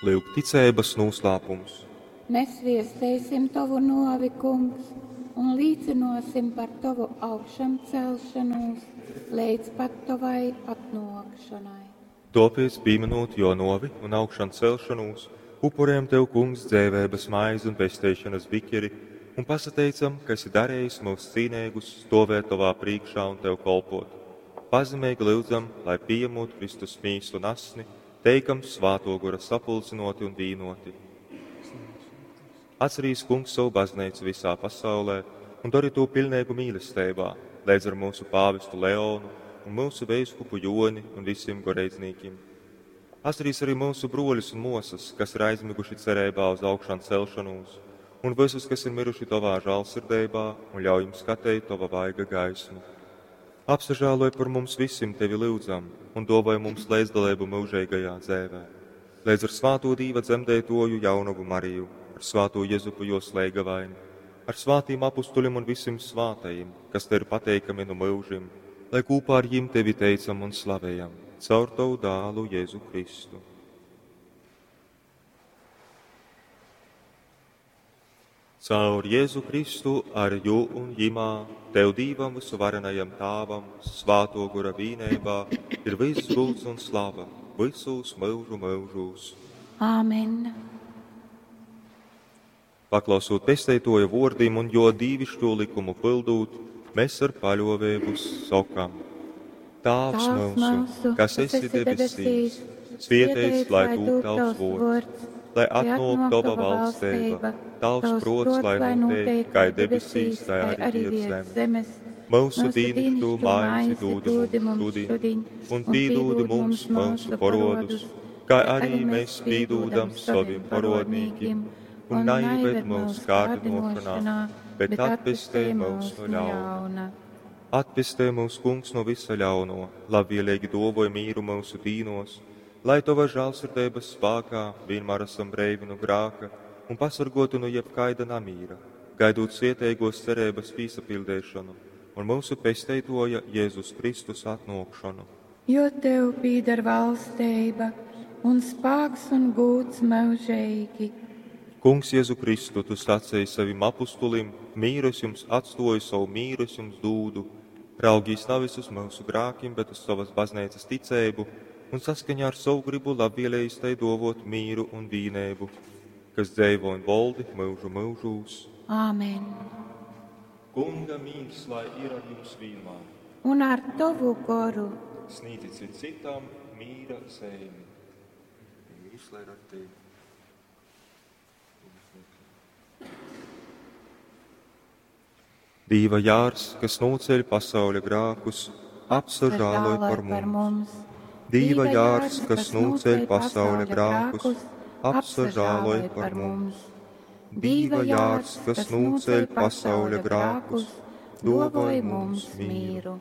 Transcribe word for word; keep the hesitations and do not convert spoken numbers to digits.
Lyuk, ticeibas nūslāpums. Mēs viesteisim tovu novi, Kungs, un līcinosim par tovu augšamcelšanos leidz pat tovai atnōkšanai. Tōpēc, pīminūt jō nōvi un augšancelšanos, upurējam tev, Kungs, dzeiveibas maizi un pesteišanas bikeri un pasateicam, ka esi darījis mūs cīneigus stovēt tovā prīkšā un tev kolpot. Pazemeigi lyudzam, lai pieņemot Kristus mīsu un asni, teikam Svāto Gora sapulcinoti un vīnoti. Atcerīs, Kungs, savu baznīcu visā pasaulē un dari to pilnīgu mīlestībā, līdz ar mūsu pāvestu Leonu un mūsu veiskupu Joni un visiem goreidznīkim. Atcerīs arī mūsu broļus un mosas, kas ir aizmiguši cerībā uz augšām celšanos, un visus, kas ir miruši tavā žālsirdībā, un ļauj jums skatīt tava vaiga gaismu. Apsažāloj par mums visiem tevi lūdzam, un dāvāj mums līdzdalību mūžīgajā dzēvē. Līdz ar svāto Dīva dzemdētoju jaunavu Mariju, ar svāto Jezupu jo slēgavaini, ar svātīm apustuļiem un visiem svātajiem, kas te ir pateikami no mūžim, lai kopā ar jim tevi teicam un slavējam, caur tavu dālu Jēzu Kristu. Caur Jēzu Kristu, ar jū un jimā, tev Dīvam visuvarenajam Tāvam, svāto gora vīnībā, ir viss gults un slava, visos mūžu mūžos. Āmen. Paklausot pesteitoja vōrdim un jo dīvišķo likumu pildūt, mēs ar paļovēbu sokam. Tāvs mūsu, kas esi debesīs, svietēts, lai tūp tavs vōrds, lai atnāk tava valstība, tavs prots, lai notiek, kā debesīs, tā arī virs zemes. Mūsu dīnišķo maizi dūdi mums šodien, un pīdūdi mums mūsu parodus, kā arī mēs pīdūdam saviem parodnīkim, un naieved mūsu kārdinošanā, bet atpestē mūs no ļauna. Atpestē mūs, Kungs, no visa ļauno, labvēlīgi dovoj mīru mūsu dīnos, lai tava žālsirdības spēkā vienmēr esam breivi no grāka un pasargotu no jebkaida namīra, gaidot svietēgos cerības pīsapildēšanu un mūsu pesteitoja Jēzus Kristus atnākšanu. Jo tev pīdar valstība un spāks un gūts mūžīgi. Kungs Jēzu Kristu, tu sacīji savim apustulim, mīru es jums atstoju, savu mīru es jums dūdu. Raugīs nevis uz mūsu grākiem, bet uz savas baznīcas ticēbu un saskaņā ar savu gribu labvēlējis tai dovot mīru un vīnēbu, kas dzēvo un voldi mūžu mūžūs. Āmen. Kunga mīrs, lai ir ar jums vienmēr. Un ar tavu goru. Sniedzit cit citam mīra zemi. Mīrs, lai ir ar tevi. Dīva jārs, kas nūceļ pasauļa grākus, apsažāloj par mums. Dīva jārs, kas nūceļ pasauļa grākus, apsažāloj par mums. Dīva jārs, kas nūceļ pasauļa grākus, dovoj mums mīru.